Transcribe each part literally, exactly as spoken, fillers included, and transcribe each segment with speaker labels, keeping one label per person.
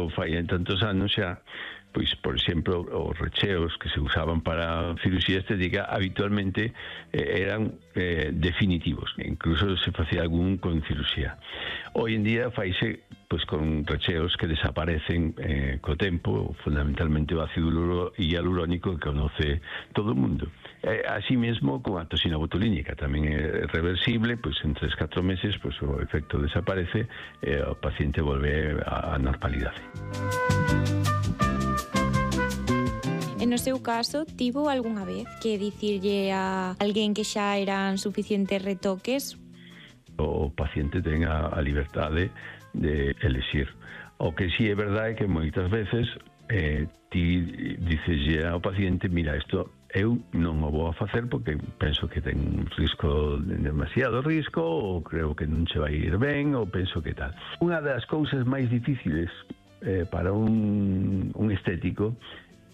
Speaker 1: fai en tantos anos xa, pois, por exemplo, os recheos que se usaban para cirurxía estética habitualmente eh, eran eh, definitivos, incluso se facía algún con cirurxía. Hoy en día faise pois con recheos que desaparecen eh, co tempo, fundamentalmente o ácido hialurónico que conoce todo o mundo. Eh, así mesmo con a toxina botulínica, tamén é reversible, pois en tres a catro meses pois o efecto desaparece e o paciente volve á normalidade.
Speaker 2: E no seu caso, tivo algunha vez que dicirlle a alguén que xa eran suficientes retoques?
Speaker 1: O paciente ten a, a liberdade de elixir. O que si é verdade é que moitas veces eh, ti diceslle ao paciente, mira, isto eu non o vou a facer porque penso que ten un risco, demasiado risco, ou creo que non se vai ir ben, ou penso que tal. Unha das cousas máis difíciles eh, para un, un estético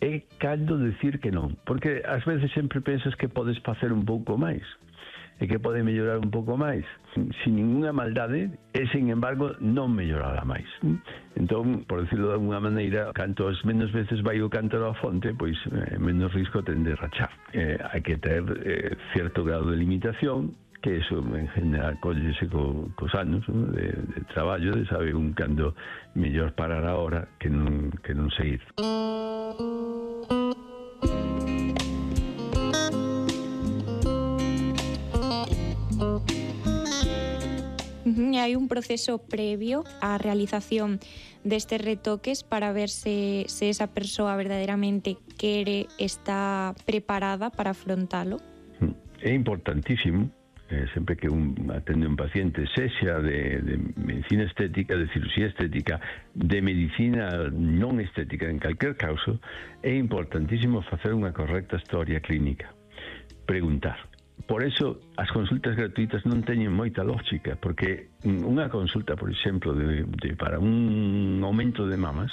Speaker 1: é cando decir que non, porque ás veces sempre pensas que podes facer un pouco máis e que pode mellorar un pouco máis sin ninguna maldade e, sin embargo, non mellorará máis. Entón, por decirlo de alguna maneira, cantos menos veces vai o cántaro á fonte, pois eh, menos risco ten de rachar. Eh, hai que ter eh, certo grado de limitación, que eso en general collese co, cos anos, ¿no? de, de traballo, de saber un cando mellor parar a hora que non, que non seguir.
Speaker 2: E hai un proceso previo á realización destes retoques para ver se, se esa persoa verdadeiramente quere, está preparada para afrontalo?
Speaker 1: É importantísimo, eh, sempre que un atende un paciente, sexa de, de medicina estética, de cirugía estética, de medicina non estética, en calquer caso, é importantísimo facer unha correcta historia clínica. Preguntar. Por eso, as consultas gratuitas non teñen moita lógica, porque unha consulta, por exemplo, de, de, para un aumento de mamas,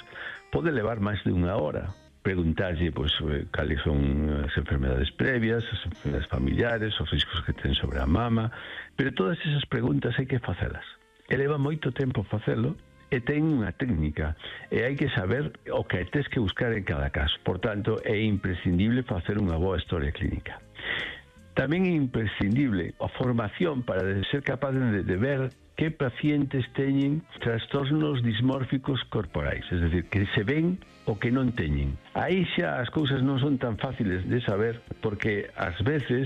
Speaker 1: pode levar máis de unha hora. Preguntarlle, pois, cales son as enfermedades previas, as enfermedades familiares, os riscos que ten sobre a mama, pero todas esas preguntas hai que facelas. E leva moito tempo facelo, e ten unha técnica, e hai que saber o que tes que buscar en cada caso. Por tanto, é imprescindible facer unha boa historia clínica. Tamén é imprescindible a formación para ser capaz de, de ver que pacientes teñen trastornos dismórficos corporais, es decir, que se ven o que non teñen. Aí xa as cousas non son tan fáciles de saber, porque ás veces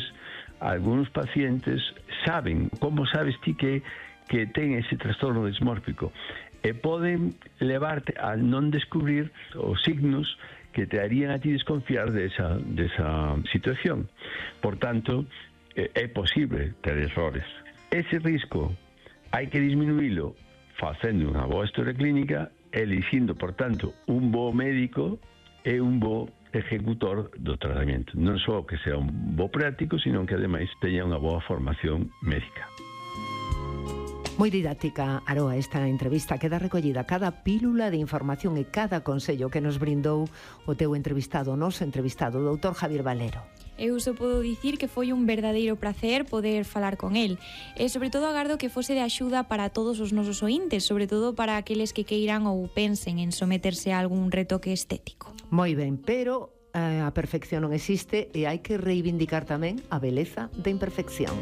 Speaker 1: algúns pacientes saben, como sabes ti que, que ten ese trastorno dismórfico, e poden levarte a non descubrir os signos que te harían a ti desconfiar de esa, de esa situación. Por tanto, eh, é posible ter errores. Ese risco hai que disminuílo facendo unha boa historia clínica, elixindo, por tanto, un bo médico e un bo ejecutor do tratamento. Non só que sea un bo práctico, sino que, ademais, teña unha boa formación médica.
Speaker 3: Moi didáctica, Aroa, esta entrevista. Queda recollida cada pílula de información e cada consello que nos brindou o teu entrevistado, o noso entrevistado, o doutor Javier Valero.
Speaker 2: Eu só podo dicir que foi un verdadeiro placer poder falar con el. E, sobre todo, agardo que fose de axuda para todos os nosos ointes, sobre todo para aqueles que queiran ou pensen en someterse a algún retoque estético.
Speaker 3: Moi ben, pero eh, a perfección non existe e hai que reivindicar tamén a beleza da imperfección.